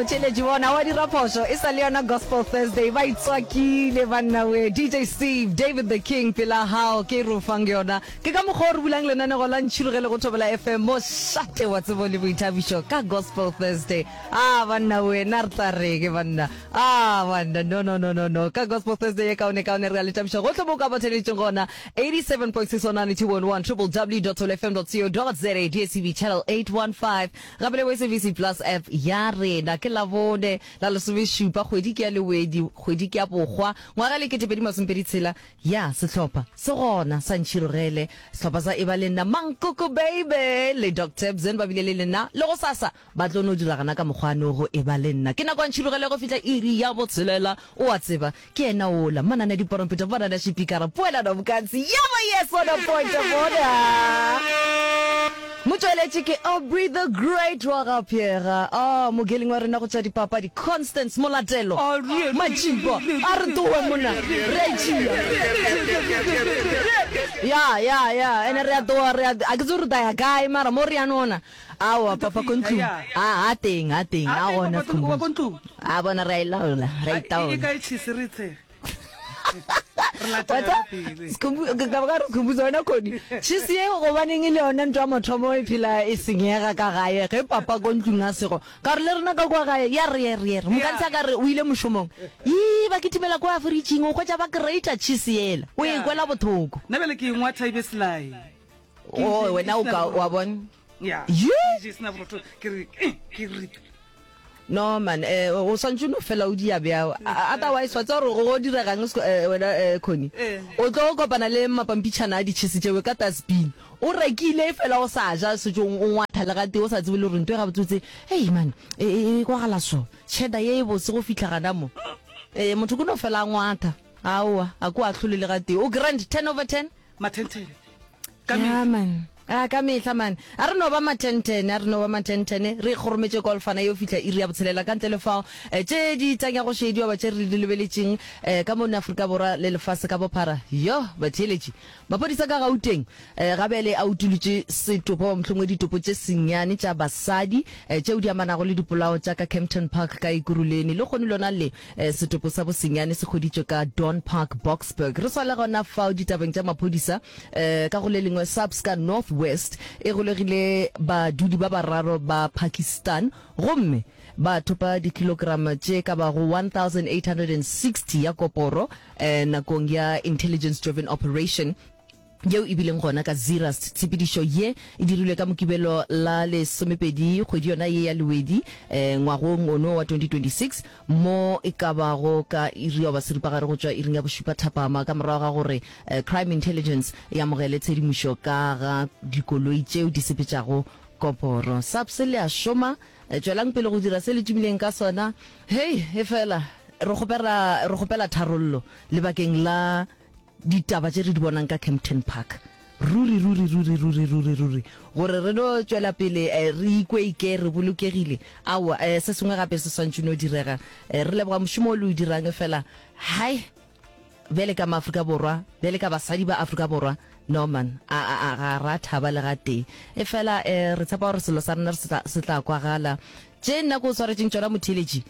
Motheeletši bona wa dira phošo e sa le yona Gospel Thursday ba itswakile banna we DJ Steve David the King pela hao ke re o fang yona ke ka mokgwa o re bulang lenanego la Ntšhirogele go Thobela FM mošate wa tsebo le boithabišo ka Gospel Thursday ah banna we na re tla reng banna ah banna no no no no no ka Gospel Thursday ye kaone kaone re a le thabiša gohle mo o ka ba theeleditšeng gona 87.6 on 92.1 www.thobelafm.co.za DSTV channel 815 Gape le bo SABC Plus app ya rena. Ke Labone la lesomešupa, kgwedi ke ya Lewedi, kgwedi ke ya Bokgwa, ngwaga le 2026. Ya, sehlopha se gona sa Ntšhirogele, sehlopha sa Eba Le Nna, Mankoko Baby le Doc Tebzen ba bile le lena le gosasa ba tlo no dira gana ka mokgwa no go Eba Le Nna. Ke nako ya Ntšhirogele go fihla iri ya botshelela, o a tseba, Ke yena wola, manane a diporompeta, manane a šipikara, poelano bokatse, yaba yes on a point of order. Motšweletši ke Aubrey the Great wa ga Pheega. Oh, mogeling wa rena go tša dipapadi, Constance Molatelo. Matšipa, a re towe mona, re a itšea. Ya, ya, ya, ene re a towa, re a, a ke tsebe re tla ya kae, mara mo re ya nona. Aowa, papa ko ntlong. A, a teng, a teng, a gona Skhumbuzo. A bona re a e laola, re a itaola. E kae cheese re tshege? Re Wa latela tseba, pele. Skhumbu, ke tla ba ka re Skhumbuzo wena Connie, cheese ye gobaneng e le yona ntho ya mathomo e phela e senyega ka gae ge papa ko ntlong a sego. Ka gore le rena ka kua gae ya re re re mokantsha ka re o ile mošomong. Ii ba kitimela kua fridging o hwetša ba creator cheese yela. O e kwela bothoko. Nna bjale ke e ngwatha e be selae. Oh, wena o ka wa bona. Ya. Ye? Ke je sena borotho ke re eh, ke re No man, eh o swantše no fela o dia bjao. Otherwise wa tseba gore go diregang eh, wena eh, Connie. Eh. O tlo kopana le mapampitšhana a ditšhese tšeo ka dustbin. O rekile fela o sa ja setšo o ngwatha le gatee o sa tsebe le gore nto e gabotsebotse. Hey man, e e e kwagala so. Cheddar ye e bose go fihla gana mo. Eh motho ke no fela a ngwatha. Aowa, a ko ahlole le gatee. O grand 10 over 10. Mathentene. Ka Ya mehla. man. A ka mehla man. A re no ba mathentene, a re no ba mathentene. Re ikgorometše golfana yo fihla iri ya botshelela ka ntle le fao. Eh, tše di tanya go šediwa ba tše re di lebeletšeng eh, ka mono Afrika Borwa le lefase ka bophara. Yo, batheeletši. Maphodisa ka Gauteng eh, ga bjale a utolotše setopo goba mohlomongwe ditopo tše senyane tša basadi eh, tšeo di amanago le dipolao tša ka Kempton Park ka Ekurhuleni. Lehono lona le Setopo sa bosenyane se hweditšwe ka Dawn Park, Boksburg. Re sa le gona fao ditabeng tša maphodisa, ka go le lengwe SAPS ka North West e golegile badudi ba bararo ba Pakistan gomme ba thopa dikilograma tše ka bago 1860 ya koporo nakong ya intelligence driven operation yeo e bileng gona ka Zeerust. Tshepedišo ye e dirilwe ka Mokibelo la lesomepedi kgwedi yona ye ya Lewedi ngwagong ono wa 2026 mo e ka bago ka iri goba seripagare go tšwa iring ya bošupa thapama ka morago ga gore Crime Intelligence e amogele tshedimošo ka ga dikoloi tšeo di sepetšago koporo. SAPS le a šoma, tšwelang pele go dira se le tumileng ka sona. Hei, efela re kgopela, re kgopela tharollo lebakeng la Ditaba tše re di bonang ka Kempton Park, ruri, ruri, ruri, ruri, ruri, ruri, gore re no tšwela pele re ikwe ike re bolokegile. Aowa, se sengwe gape se swantše no direga. Re leboga mošomo o le o dirang, efela, hai, bjale ka Maafrika Borwa, bjale ka basadi ba Afrika Borwa, no man, a, a, a, ga ra thaba le gatee. Efela, re tshepa gore selo sa rena se tla, se tla kwagala. Tše nna ke o swaretšeng tšona, motheeletši,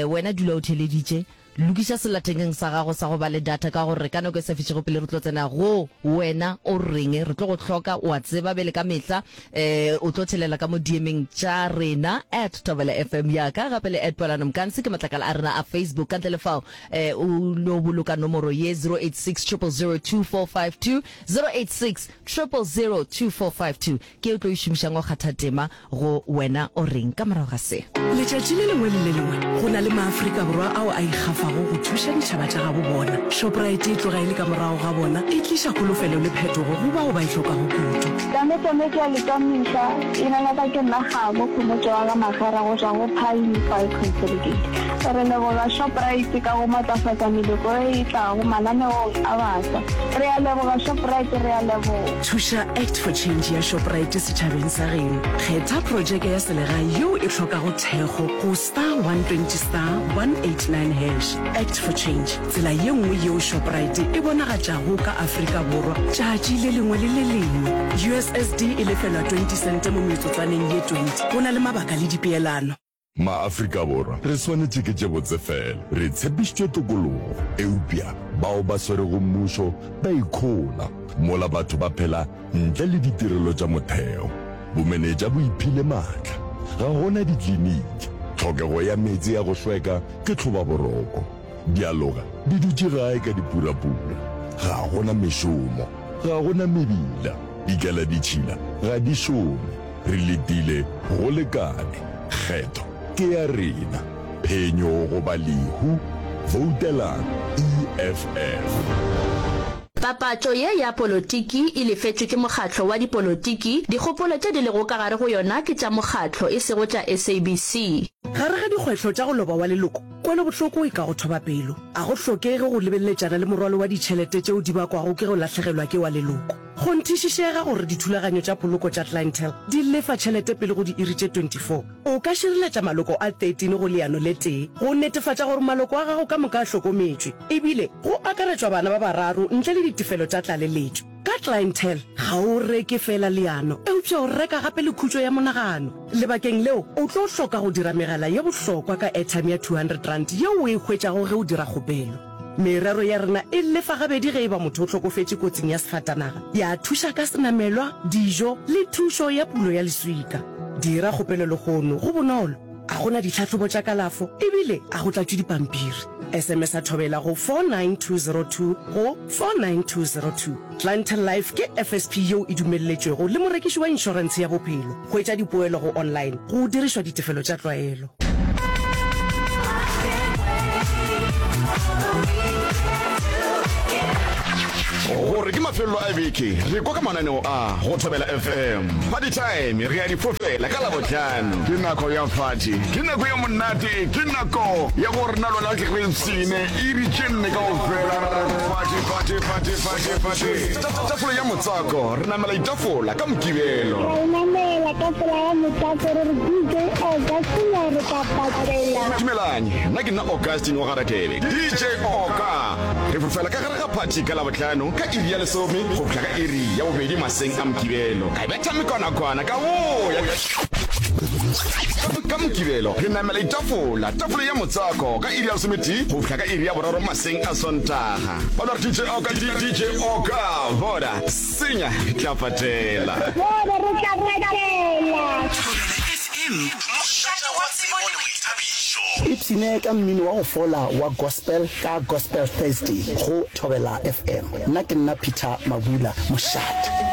wena dula o theeleditše. Lokiša sellathekeng sa gago sa go ba le data ka gore ka nako e sa fišego pele re tlo tsena go Wena o Reng? Re tlo go hloka, o a tseba bjale ka mehla um o tlo thelela ka mo DM-eng tša rena at Thobela FM ya ka gape le at Poelano Mkansi ke matlakala a rena a Facebook. Ka ntle le fao um o no boloka nomoro ye 086 000 2452 086 000 2452 ke ye o tlo e šomišang go kgatha tema Go Wena o Reng ka morago ga se? Letšatši le lengwe le le lengwe go na le maAfrika Borwa ao a ikgafago go thuša ditšhaba tša gabo bona. Shoprite e tloga e le ka morago ga bona, e tliša kholofelo le phetogo go bao ba e hlokago kudu. Tame tame ke a le tamisa, Leina la ka ke nna Kgabo Khomotšo wa ga Magera go tšwa go Pine Five Consolidated. Re leboga Shoprite ka go matlafatša meloko e e tlago mananeong a baswa. Re a leboga Shoprite, re a leboga. Thuša Act for Change ya Shoprite setšhabeng sa geno. Kgetha projeke ya selegae yeo e hlokago thekgo go star 120 star 189 hash. Act for Change, tsela ye nngwe yeo Shoprite e bonagatšago ka Afrika Borwa tšatši le lengwe le le lengwe. USSD e lefelwa 20 sente mo metsotswaneng ye 20. Go na le mabaka le dipeelano. Ma-Afrika Borwa re swanetše ke tše botse fela. Re tshepišitšwe tokologo, eupša bao ba swerego mmušo ba ikhola mola batho ba phela ntle le ditirelo tša motheo. Bomenetša bo iphile maatla. Ga go na dikliniki. Tlhokego ya meetse ya go hlweka ke tlhobaboroko. Dialoga di dutše gae ka dipurapura. Ga go na mešomo. Ga go na mebila. Dikeladitšhila ga di šome. Re letile go lekane. Kgetho ke ya rena. Phenyo goba lehu. Voutelang EFF. Papatšo ye ya polotiki e lefetšwe ke mokgatlo wa dipolotiki, dikgopolo tše di lego ka gare go yona ke tša mokgatlo e sego tša SABC. Gare ga dikgwehlo tša go loba wa leloko, kwelobohloko e ka go thoba pelo. A go hlokege go lebeleletšana le morwalo wa ditšhelete tšeo di bakwago ke go lahlegelwa ke wa leloko. Kgonthišišega gore dithulaganyo tša poloko tša Clientele di lefa tšhelete pele go diiri tše 24. O ka šireletša maloko a 13 go leano le tee go netefatša gore maloko a gago ka moka a hlokometšwe, ebile go akaretšwa bana ba bararo ntle le ditefelo tša tlaleletšo. Ka Clientele, ga o reke feela leano, eupša o reka gape le khutšo ya monagano. Lebakeng leo, o tlo hloka go dira megala ye bohlokwa ka airtime ya R200 yeo o e hwetšago ge o dira kgopelo. Merero ya rena e lefa gabedi ge e ba motho o hlokofetše kotsing ya sefatanaga, ya thuša ka senamelwa, dijo le thušo ya pulo ya leswika. Dira kgopelo lehono, go bonolo, ga go na ditlhahlobo tša kalafo ebile ga go tlatšwe dipampiri. SMS-a Thobela go 49202 go 49202. Clientele Life ke FSP yeo e dumelletšwego le morekiši wa inšorentshe ya bophelo. Hwetša dipoelo go online go dirišwa ditefelo tša tlwaelo. Gore ke mafelelo a beke, re kwa ka mananeo a go Thobela FM. Party time re a di fofela ka Labohlano. Ke nako ya party, ke nako ya monate, ke nako ya gore na lona tle re ipshine iri tše nne kaofela re party, party, party, party, party. Tafola ya motswako, re namela ditafola ka Mokibelo. Ra e namela tafola ya motswako re re DJ Augustine re tla patela. Dumelang, nna ke nna Augustine wa ga Radebe, DJ Oka. Re fofela ka gare ga phathi ka Labohlano ka iri ya lesome go fihla ka iri ya bobedi maseng a Mokibelo. Ka betha mekonakwana ka boya. Ka Mokibelo re namela ditafola, tafola ya motswako ka iri ya lesometee go fihla ka iri ya boraro maseng a Sontaga. Ba no re DJ Oka, DJ Oka, bona, senya, re tla patela. Bona, re tla patela. Thobela FM, mošate wa tsebo le boithabišo. Ipshine ka mmino wa go fola wa gospel ka Gospel Thursday go Thobela FM. Nna ke nna Peter Mabula, mošate.